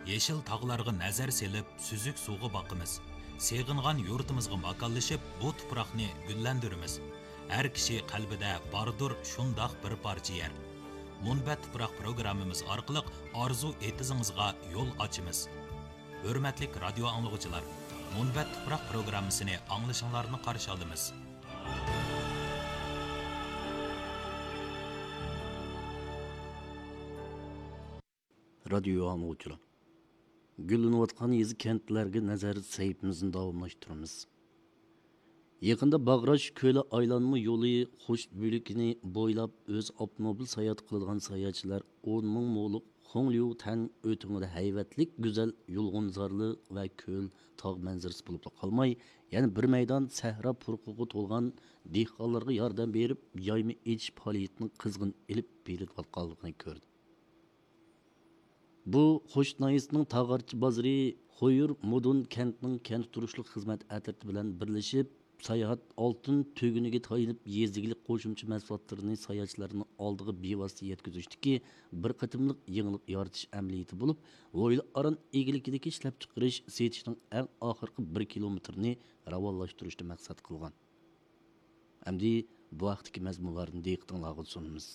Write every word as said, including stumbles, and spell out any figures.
يېشىل تاغلارغا نەزەر سېلىپ، سۈزۈك سۇغا باقىمىز. سېغىنغان يۇرتىمىزغا ماكانلىشىپ، بۇ تۇپراقنى گۈللەندۈرىمىز. ھەر كىشى قەلبىدە باردۇر شۇنداق بىر پارچە يەر. مۇنبەت تۇپراق پروگراممىمىز ئارقىلىق ئارزۇ ئېتىزىڭىزغا يول ئاچىمىز. ھۆرمەتلىك رادىيو ئاڭلىغۇچىلار، مۇنبەت تۇپراق پروگراممىسىنى ئاڭلىشىڭلارنى قارشى ئالىمىز. رادىيو ئاڭلىغۇچىلار، گۈللىنىۋاتقان يېزا، كەنتلەرگە نەزەر سەھىپىمىزنى داۋاملاشتۇرىمىز. يېقىندا باغراش كۆلى ئايلانما يولى خوش بۆلىكىنى بويلاپ ئۆزى ئاپتوموبىل ساياھەت قىلىدىغان ساياھەتچىلەر ئون مىڭ مولۇق خۇڭليۇ تەن ئۆتۈمىدە ھەيۋەتلىك گۈزەل يۇلغۇنزارلىق ۋە كۆل، تاغ مەنزىرىسى بولۇپلا قالماي، يەنە بىر مەيدان سەھرا پۇرىقىغا تولغان دېھقانلارغا ياردەم بېرىپ، يايما ئېچىش پائالىيىتىنى قىزغىن ئېلىپ بېرىلىۋاتقانلىقىنى كۆردى. بۇ خوشۇت ناھىيەسىنىڭ تاغارچى بازىرى خۇيۇر مۇدۇن كەنتىنىڭ كەنت تۇرۇشلۇق خىزمەت ئەترىتى بىلەن بىرلىشىپ، ساياھەت ئالتۇن تۈگۈنىگە تايىنىپ، يېزا ئىگىلىك قوشۇمچە مەھسۇلاتلىرىنى ساياھەتچىلەرنىڭ ئالدىغا بىۋاسىتە يەتكۈزۈشتىكى بىر قېتىملىق يېڭىلىق يارىتىش ئەمەلىيىتى بولۇپ، ھويلا ئاران ئىگىلىكىدىكى ئىشلەپچىقىرىش، سېتىشنىڭ ئەڭ ئاخىرقى بىر كىلومېتىرىنى راۋانلاشتۇرۇشنى مەقسەت قىلغان. ئەمدى بۇ ھەقتىكى مەزمۇنلارنى دىققىتىڭلارغا سۇنىمىز.